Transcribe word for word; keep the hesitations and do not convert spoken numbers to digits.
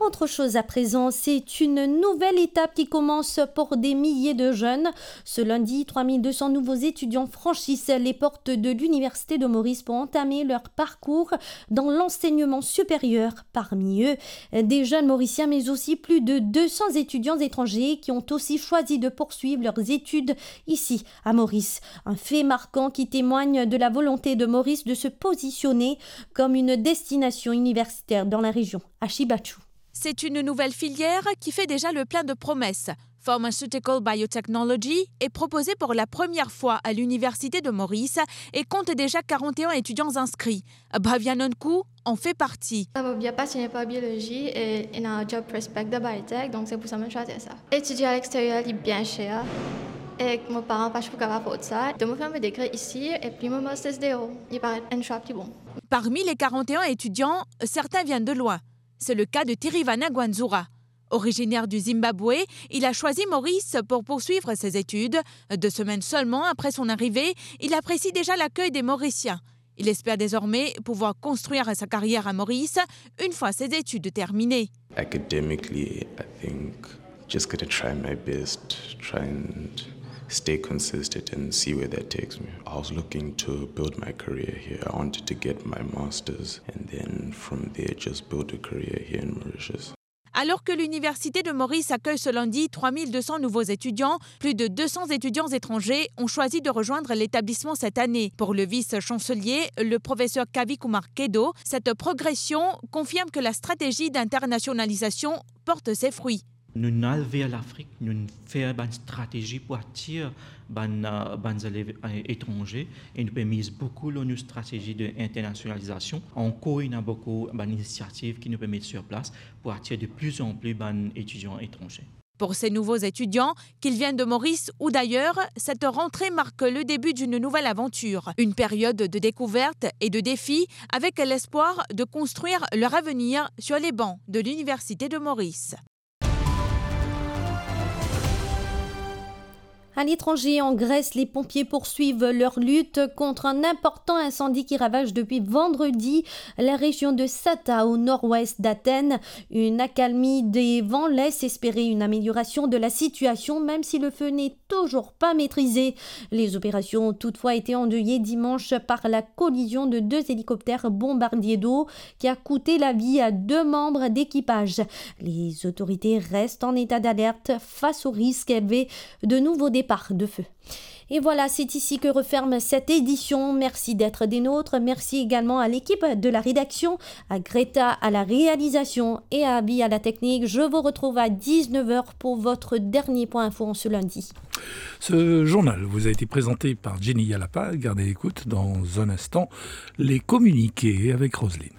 Autre chose à présent, c'est une nouvelle étape qui commence pour des milliers de jeunes. Ce lundi, trois mille deux cents nouveaux étudiants franchissent les portes de l'Université de Maurice pour entamer leur parcours dans l'enseignement supérieur. Parmi eux, des jeunes Mauriciens, mais aussi plus de deux cents étudiants étrangers qui ont aussi choisi de poursuivre leurs études ici, à Maurice. Un fait marquant qui témoigne de la volonté de Maurice de se positionner comme une destination universitaire dans la région. Ashi Bachou. C'est une nouvelle filière qui fait déjà le plein de promesses. Pharmaceutical Biotechnology est proposée pour la première fois à l'Université de Maurice et compte déjà quarante et un étudiants inscrits. Bhavya Nonkou en fait partie. Sa mo bien pasioné par biologie et ena job prospect dan biotech, donc c'est pour ça que j'ai choisi ça. Étudier à l'extérieur, c'est bien cher et mes parents pas pour capable afford ça. Donc, mo fer mo degré ici et puis mo master's dehors. Il paraît un choix plus bon. Parmi les quarante et un étudiants, certains viennent de loin. C'est le cas de Tirivana Gwanzura. Originaire du Zimbabwe, il a choisi Maurice pour poursuivre ses études. Deux semaines seulement après son arrivée, il apprécie déjà l'accueil des Mauriciens. Il espère désormais pouvoir construire sa carrière à Maurice une fois ses études terminées. Academically, I think just gonna try my best, try and stay consistent and see where that takes me. I was looking to build my career here. I wanted to get my master's and then from there just build a career here in Mauritius. Alors que l'Université de Maurice accueille ce lundi trois mille deux cents nouveaux étudiants, plus de deux cents étudiants étrangers ont choisi de rejoindre l'établissement cette année. Pour le vice-chancelier, le professeur Kavi Kumar Kedo, cette progression confirme que la stratégie d'internationalisation porte ses fruits. Nou al ver Lafrik, nou fer bann stratezi pou atir bann, euh, bann zelev, euh, etranze, e nou pe miz boukou lor nou stratezi de internasionalizasion. Ankor, ena boukou bann inisiativ ki nou pe met sur plas pou atir de plus en plus bann etidian etranze. Pour ces nouveaux étudiants, qu'ils viennent de Maurice ou d'ailleurs, cette rentrée marque le début d'une nouvelle aventure, une période de découverte et de défis avec l'espoir de construire leur avenir sur les bancs de l'Université de Maurice. À l'étranger, en Grèce, les pompiers poursuivent leur lutte contre un important incendie qui ravage depuis vendredi la région de Sata, au nord-ouest d'Athènes. Une accalmie des vents laisse espérer une amélioration de la situation, même si le feu n'est toujours pas maîtrisé. Les opérations ont toutefois été endeuillées dimanche par la collision de deux hélicoptères bombardiers d'eau qui a coûté la vie à deux membres d'équipage. Les autorités restent en état d'alerte face au risque élevé de nouveaux départs de feu. Et voilà, c'est ici que referme cette édition. Merci d'être des nôtres. Merci également à l'équipe de la rédaction, à Greta à la réalisation et à Abby à la technique. Je vous retrouve à dix-neuf heures pour votre dernier point info en ce lundi. Ce journal vous a été présenté par Jenny Yalapa. Gardez l'écoute dans un instant, les communiqués avec Roselyne.